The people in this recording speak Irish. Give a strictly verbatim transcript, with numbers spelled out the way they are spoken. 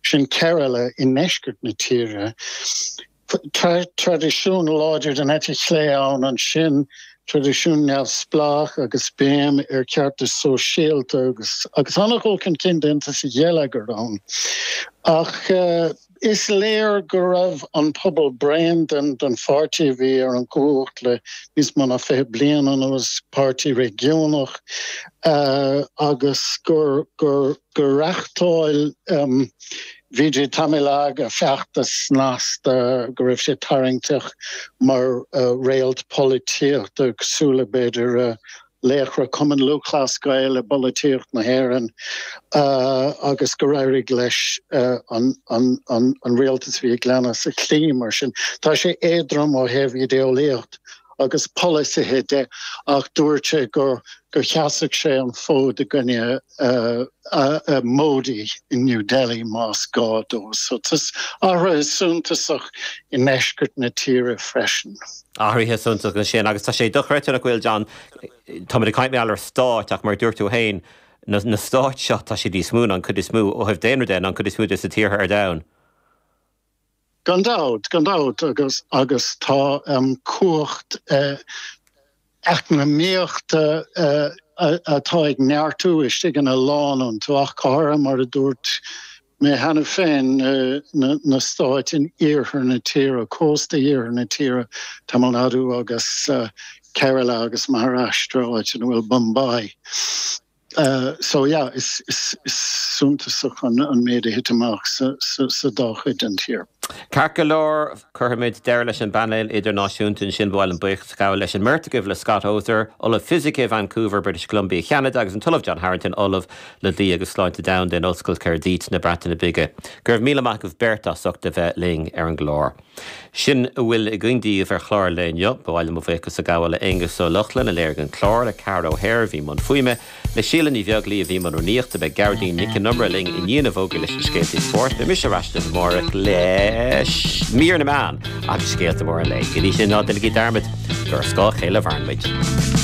Sin Kerala i ndeisceart na tíre. Traidisiún láidir den eite chlé ann ansin, traidisiún neamhspleách agus béim ar cheartas sóisialta agus agus an-dhul chun cinn déanta sa gheilleagar ann. Ach uh, is léir go raibh an pobal bréan den den pháirtí a bhí ar an gcumhacht le níos mó ná fiche bliain anuas páirtí réigiúnach uh, agus gur gur gur reáchtáil um, Vijay Tamilaga feachtas snasta go raibh sé tarraingteach mar uh, réalt polaitíochta cosúil le b'fhéidir uh, laochra Cumann Lúthchleas Gael i bpolaitíocht na hÉireann uh, agus gur éirigh leis uh, an, an, an, an rialtas bhí i gceannas a chloí mar sin. Tá sé éadrom ó thaobh idéolaíocht agus polasaithe de ach dúirt sé gur gur sheasfadh sé an fód i gcoinne uh, uh, uh, Modi in New Delhi más gá dó. So tá athruithe suntasach i ndeisceart na tíre freisin. Athruithe suntasach sin agus tá sé dochreidte nach bhfuil John Tá ag caint ar stáit ach mar dúirt tú féin na, na stáit seo tá sé níos mó an chuid is mó ó thaobh daonra de an chuid is mó de sa tíortha ar domhan. Gan dabht, gan dabht agus agus tá um, cumhacht uh, eacnamaíochta uh, atá ag neartú istigh ina lán iontu ach go háirithe mar a dúirt mé cheana féin uh, na, na stáit in iarthar na tíre, cósta iarthar na tíre Tamil Nadu agus uh, Kerala agus Maharashtra áit ina bhfuil Bombay. Uh, so yeah, is, is, is suntasach an, an méid a thit amach sa, sa, sa dá chuid den tír. Ceart go leor cuirfimid deireadh leis an bpainéal idirnáisiúnta sin bhil an buíochas gabh leis an mbeirt agaibh le Scott Oser, Ollamh Fisice Vancouver, British Columbia Canada agus an tOllamh John Harrington Ollamh le Dlí agus Sláinte Domhanda in Ollscoil Caerdydd na Breataine Bige. Go raibh míle maith agaibh beirt as ucht a bheith linn ar an gclár. Sin a bhfuil againn daoibh ar chlár an lae inniu, ba mhaith liom mo bhuíochas a ghabháil le Aengus Ó Lochlainn a léirigh an clár le Ceara O'Hare a bhí i mbun fuaime, le Síle Ní Bheaglaoí a bhí i mbun rúnaíochta beidh Gearóidín Nic an Iomaire linn i ndiaidh na bhfógraí leis na scéalta spóirt, beidh mise ar ais amárach le mír na meán agus scéalta móra an lae. Go dtí sin ná déanaigí dearmad gur ar scáth a chéile a mhaireann muid.